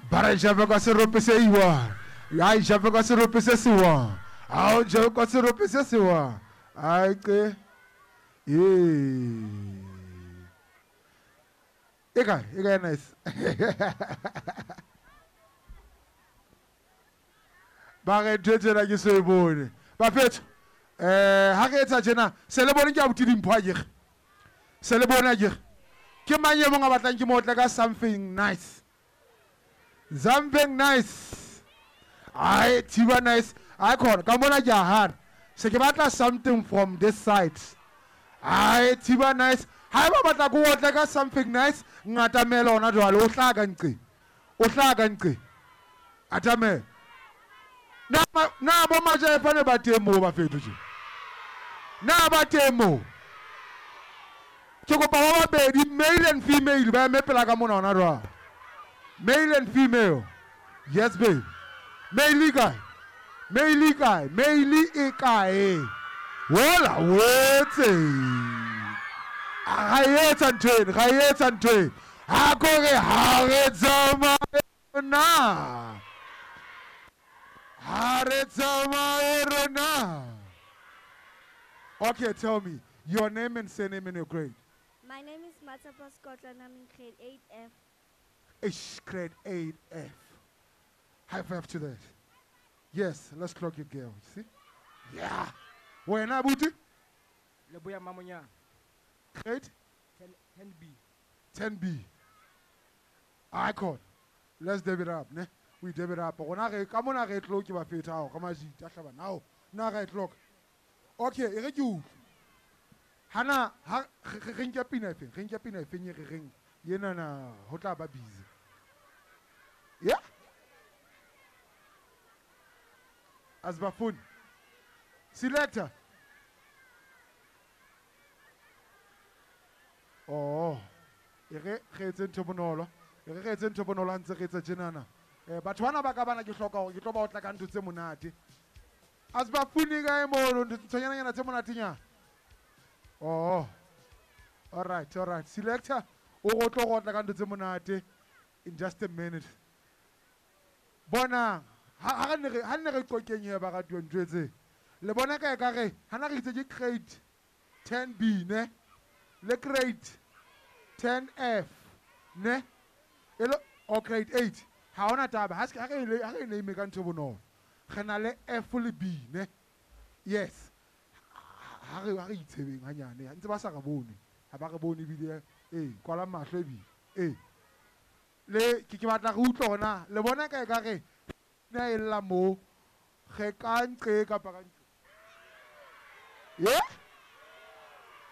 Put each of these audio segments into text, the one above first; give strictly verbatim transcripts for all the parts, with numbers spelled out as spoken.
Ba re jabe ka serope se iwa. Ai jabe ka serope se sewa. Ao jabe ka serope se sewa. Ai ke. Eh. E kae? E kae nice. Ba re ntho e tsena ke so e bone. Bafetho. Eh ha re etsa tjena se le bone ke abuti dimpho a kere. Se le bone a kere. Ke mang e mong a batlang ke mo otle ka something nice. Something nice. Ai thiba nice. Ai khona ka mona ke a hana. Se ke batla something from this side. Ai thiba nice. Ha ba batla go otla ka something nice ngatamela ona jwale o hla ka nqe. O hla ka nqe. Atame. Na na bo majaefa ne ba teng moo ba fetho tje. Na ba teng moo. Ke kopa ba babedi male and female ba eme pela ka mona ona jwale. Male and female. Yes babe. Male kae? Male kae? Male e kae? Wola wetse. Ga e etsa ntho eno, ga e etsa ntho eno. Ha kore ha re tsamaye rona. Ha re tsamaye rona. Okay, tell me your name and surname and your grade. My name is Matsapa Scotland. I'm in grade eight F. Ish, grade eight F. High five to that. Yes, let's clock your girl. You see? Yeah. Wena buti? Leboya Mamonya. Grade? ten B. ten B. Icon. Let's deb it up, ne? We deb it up. Rona re ka mona re tlo ke ba feta hao ka majita hlaba now. Na re clock. Okay, e re ke utlwe. Hana ha re nke pina efeng? Re nke pina efeng e re reng yena na ho tla ba busy. Yeah? Asbafun. Selector. Oh, e re re etse ntho bonolo. E re re etse ntho bonolo ha ntse re etsa tjenana. Eh batho bana ba ka bana ke hloka hore ke tlo ba otla ka ntho tse monate. Asbafuni kae mono nthonyana tse monatenyana. Oh. All right, all right. Selector o go tlo go otla ka ntho tse monate in just a minute. Bona ha ha ne re ha ne re qokeng ye ba radio ntho tse. Le bona ka e ka re hana re itse ke grade ten B ne? Le grade ten F ne? Elo o grade eight. Ha ona taba ha se ha re ha re name ka ntho bonolo. Re na le F le B ne? Yes. Ha re ha re itshebeng hanyane. Ntse ba sa re bone. Ha ba re bone ebile eh kwala mahlo ebile. Eh. Le ke ke batla re utlwe hona. Le bona ka e ka re na e lla mo re ka nqe kapa ka nqe. Yeah?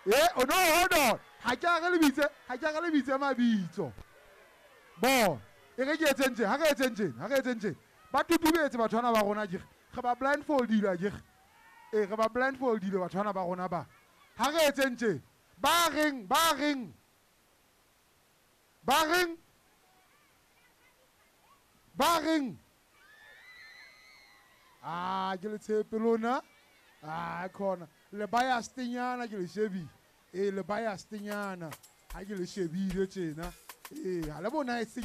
Yeah, oh no, hold on. Ha ke a re le bitse, ha ke a re le bitse mabitso. Bo, e re ke etseng tje, ha re etseng tje, ha re etseng tje. Ba tutubetse batho bana ba rona ke. Re ba blindfoldile ke. Eh, re ba blindfoldile batho bana ba rona ba. Ha re etseng tje. Ba reng, ba reng. Ba reng. Ba reng. Ah, ke le tshepe lona. Ah, khona. Le biasenyana ke le shebi. Eh, le biasenyana. Ha ke le shebile tjena. Eh, ha le bona e